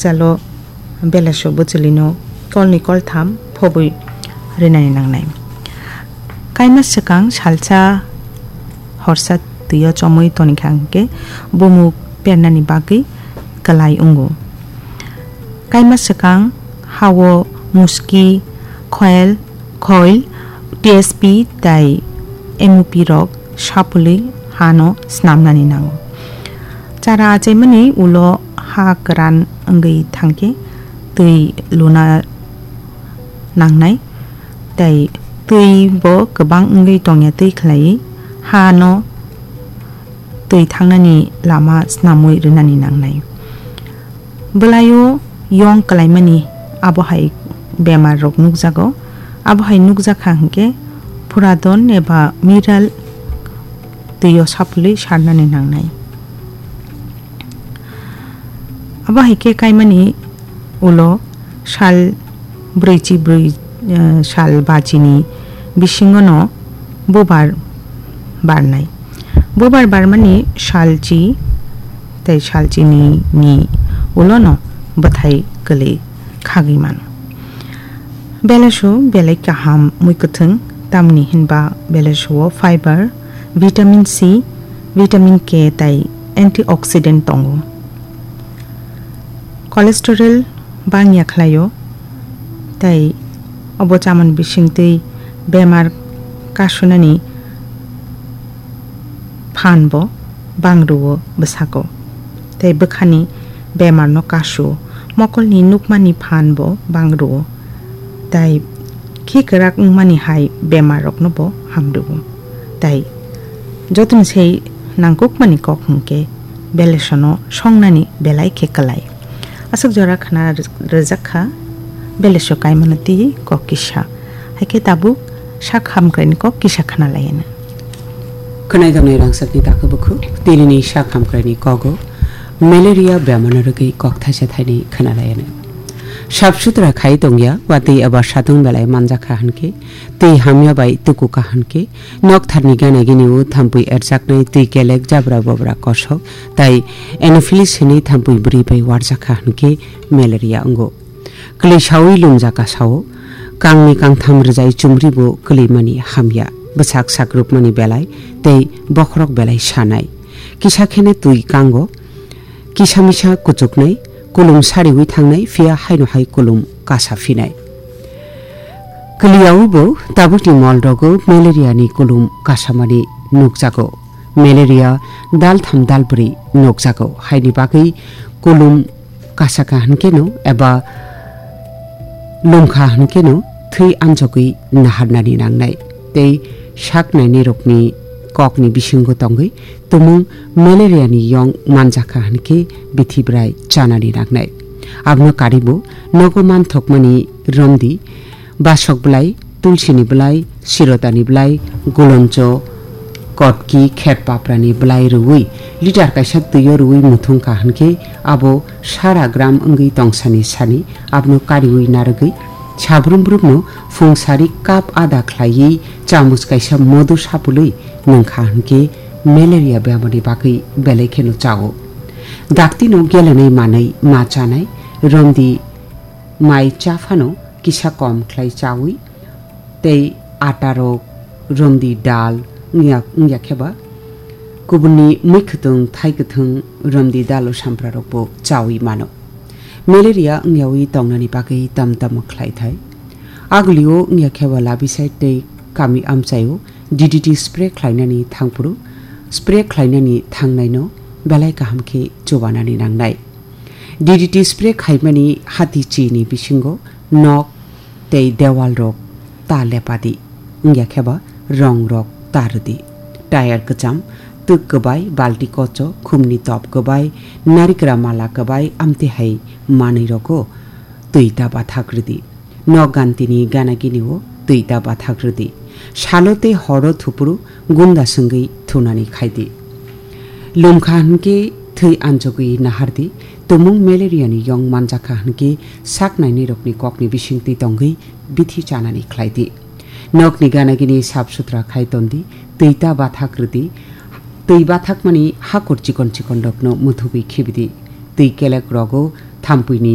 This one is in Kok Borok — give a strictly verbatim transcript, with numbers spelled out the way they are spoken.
talo belaiso bwchwlwino kolni koltham phobwi rinani nangnai. Kaima swkang salsa horsa twio chomwi tonikha hwnkhe bumuk pernani bagwi kwlai wngo. Kaima swkang hao muski, khoel, khoil, T S P tei M O P rok sapulwi hano snamnani nango. Chara achaimani ulo ha kwran wngwi thangkhe twi luna nangnai, tei twi bo kwbang wngwi tongya twi khlaiwi hano twi thangnani lama snamwi rwnani nangnai. Bwlaio yong kwlaimani abo hai bemar rok nukjago. Abo hai nukjakha hwnkhe phuradon eba miral twio sapulwi sarnani nangnai. Abo hai khe kaimani ulo sal brwichi brwi, eh, sal bachini bisingono bubar barnai. Bubar barmani salchi tei salchini ni ulono bwthai kwlwi khagwi mano. Belaiso belai kaham mui kwthwng, tamni hinba belaiso o fiber, vitamin C, vitamin K tei antioxidant tongo. Cholesterol bangya khlaio, tei obo chamani bisingtwi bemar kasunani phan bo bang rwo bwsako, tei bwkhani bemarno kasu, mokolni nukmani phan bo bang rwo, tei khi kwrak wngmani hai bemarrokno bo ham rwo, tei jotoni sei nangkukmani kok hwnkhe belesono songnani belai khe kwlai. Aswk jora khna rwjak kha, beleso kaimano tei kok kisa. Hai khe tabuk sak hamkraini kok kisa khna lai anw. Khwnai tongnai rangchakni takhuk bukhuk, tinini sak hamkraini kogo malaria bemano rwgwi kok thaisa thainwi khna lai anw. Sap sutra khai tongya, watwi eba satung belai manjakha hwnkhe, twi hamya bai tuku kha hwnkhe, noktharni gana gini o thampui erjaknai twi kelek jabra bobra kosok, tai anopheles hinwi thampui bwrwi bai warjakha hwnkhe malaria wngo. Kwlwi saui lumjaka sao, kangni kangtham rwjai chumri bo kwlwimani hamya, bwsak sakrupmani belai tei bokhorok belai sanai. Kisa kheno twi kango, kisa misa kuchuknai, kulum sariui thangnai, phiya haino hai kulum kasa phinai. Kwlwiyaui bo tabukni mol rogo malaria ni kulum kasamani nukjago. Malaria daltham dalbwrwi nukjago, haini bagwi kulum kasakha hwnkeno eba lumkha hwnkeno thwi anjogwi naharnani nangnai tei sak nainai rokni kokni bisingo tongwi tumung malaria ni yong manjakha hwnkhe bithi bwrai chanani nangnai. Abono karibo nogo manthokmani romdi, basok bwlai, tulsini bwlai, sirotani bwlai, guloncho, kotki, khet paprani bwlai rwui litar kaisa twio rwui muthung kha hwnkhe abo sara gram wngwi tongsani sani abono kariui narwgwi sabrum brumno phung sari cup ada khlaiwi chamuch kaisa modu sapului nwngkha hwnkhe malaria bemani bagwi belai kheno chao. Daktino gelenai manwi ma chanai, romdi mai cha phano kisa kom khlai chaui tei ata rok, romdi dal wngya, wngya khe ba kubunni mui kwthwng, thai kwthwng, romdi dalo sampra rok bo chaui mano. Malaria wngyaui tongnani bagwi tam tamo khlai thai. Agulio wngya khe ba labisai tei kami amchaio D D T spray khlainani thangphuru, spray khlainani thangnaino belai kaham khe chubanani nangnai. D D T spray khaimani hati chini bisingo nok tei dewal rok ta lepadi, wngya khe ba rong rok ta rwdi. Tayar kwcham, twk kwbai, balti kocho, khumni top kwbai, narikra mala kwbai, amtwi hai manwi rogo twi ta bathak rwdi. Nok gantini gana gini o twi ta bathak rwdi. Salo tei horo thupuru gunda swngwi thunani khaidi. Lumkha hwnkhe thwi anjogwi nahardi, tumung malaria ni yong manjakha hwnkhe sak nainai rokni kokni bisingtwi tongwi bithi chanani khlaidi. Nokni gana gini sap sutra khai tondi, twi ta bathak rwdi, twi bathakmani hakur chikon chikon rokno muthubwi khibidi, twi kelek rogo thampuini